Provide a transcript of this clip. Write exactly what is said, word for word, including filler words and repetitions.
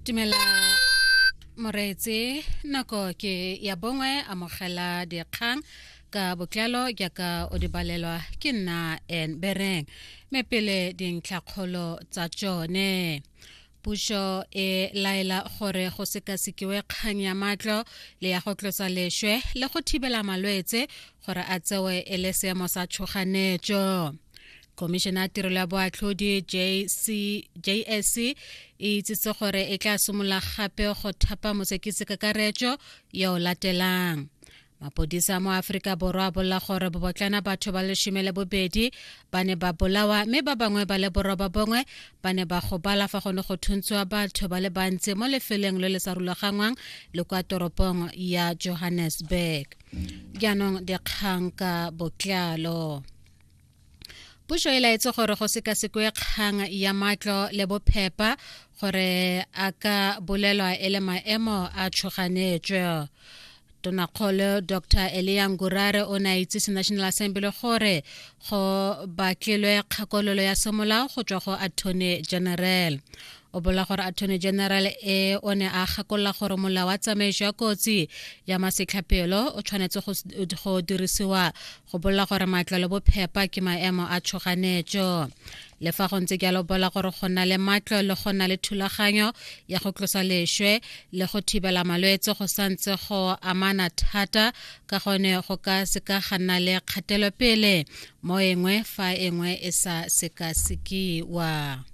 Dumela moreetsi, nako ke ya bongwe. Amogela dikgang ka botlalo jaaka o di balelwa ke nna N Bereng, mme pele dintlhakgolo tsa tsone. Puso e laela gore go sekasekiwe kgang ya matlo le ya go tlosa leswe le go thibela malwetse gore a tsewe e le seemo sa tshoganyetso. Khomišene ya tirelo ya boatlhodi J S C e itsitse gore e tla simolola gape go thapa mosekisi kakaretso yo o latelang. Mapodisa mo Aforika Borwa a bolela gore bobotlana batho ba lesome le bobedi ba ne ba bolawa, mme ba bangwe ba le boroba bongwe ba ne ba gobala fa go ne go thuntshiwa batho ba le bantsi mo lefelong le le sa rulaganngwang le kwa toropong ya Johannesburg. Jaanong dikgang ka botlalo. Puso e laetse gore go sekasekwe kgang ya matlo le bophepa gore a ka bolelwa e le maemo a tshoganyetso. Tonakgolo Doctor Elia Ngurare o ne a itsise National Assembly gore go batlilwe kgakololo ya semolao go tswa go Attorney General. O bolela gore Attorney General e o ne a gakolola gore molao wa tsamaiso ya kotsi ya masetlhapelo o tshwanetse go dirisiwa go bolela gore matlo le bophepa ke maemo a tshoganyetso. Le fa go ntse jalo, bolela gore go nna le matlo le go nna le thulaganyo ya go tlosa leswe le go thibela malwetse go santse go amana thata, ka gone go ka seka ga nna le kgatelopele mo engwe fa engwe e sa sekasekiwa.